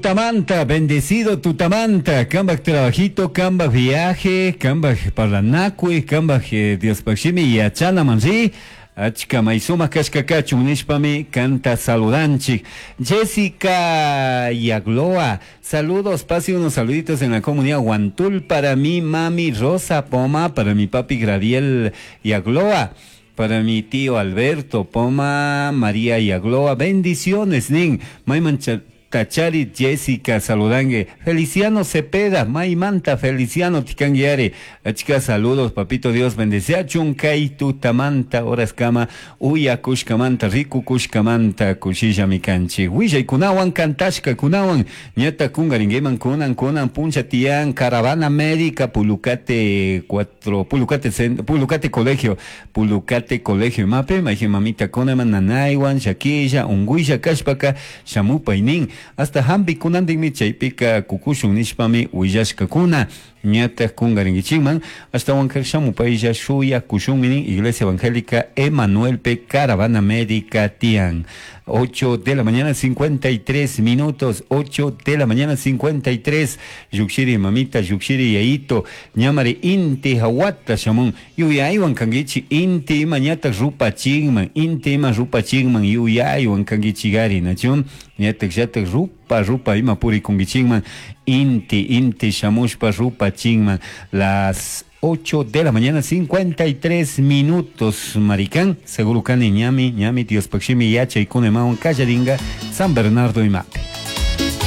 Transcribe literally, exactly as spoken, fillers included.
Tutamanta, bendecido tutamanta, cambaj trabajito, cambaj viaje, cambaj parlanacui, cambaj eh, Diospaj shimi yachanaman ri. Achka may sumak kashka kachun nishpami kanta saludanchik. Jessica Yagloa, saludos, pase unos saluditos en la comunidad Guantul para mi mami Rosa Poma, para mi papi Graviel Yagloa. Para mi tío Alberto Poma, María Yagloa, bendiciones, nin. Mayman Tachari Jessica saludangue. Feliciano Cepeda, Maymanta Feliciano Ticanguiare. Achka saludos, papito Dios bendeciachun kay tutamanta horas kama uya kushkamanta riku kushkamanta kushilla mikanchi. Willaykunawan kantashka kunawan ñata kungaringueman kunan kunan puncha tian caravana médica Pulucate cuatro Pulucate Pulucate colegio Pulucate colegio mape maije mamita kunaman nanaywan shakilla unguilla kashpaka shamupaynin hasta hampi kunantinmi chaypika kukushun nishpami willashkakuna ñataq kungarinkichikman ashtawan shamupaylla shuyakushunmi nin Iglesia Evangélica Emanuel P. Caravana Médica tian. ocho de la mañana cincuenta y tres minutos, ocho de la mañana cincuenta y tres. Llukshiri mamita, llukshiri yayito, ñamari inti hawata shamun, yuyaywan kankichi inti ima ñataq rupachinman, inti ima rupachinman yuyaywan kankichigari, nachun, ñataq llataq rupa rupa ima purikunkichikman, inti inti shamushpa rupachinman. Las ocho de la mañana cincuenta y tres minutos, maricán, seguro kani ñami, ñami Diospaj shimi yachaykuna imawan kallaringa San Bernardo imapi.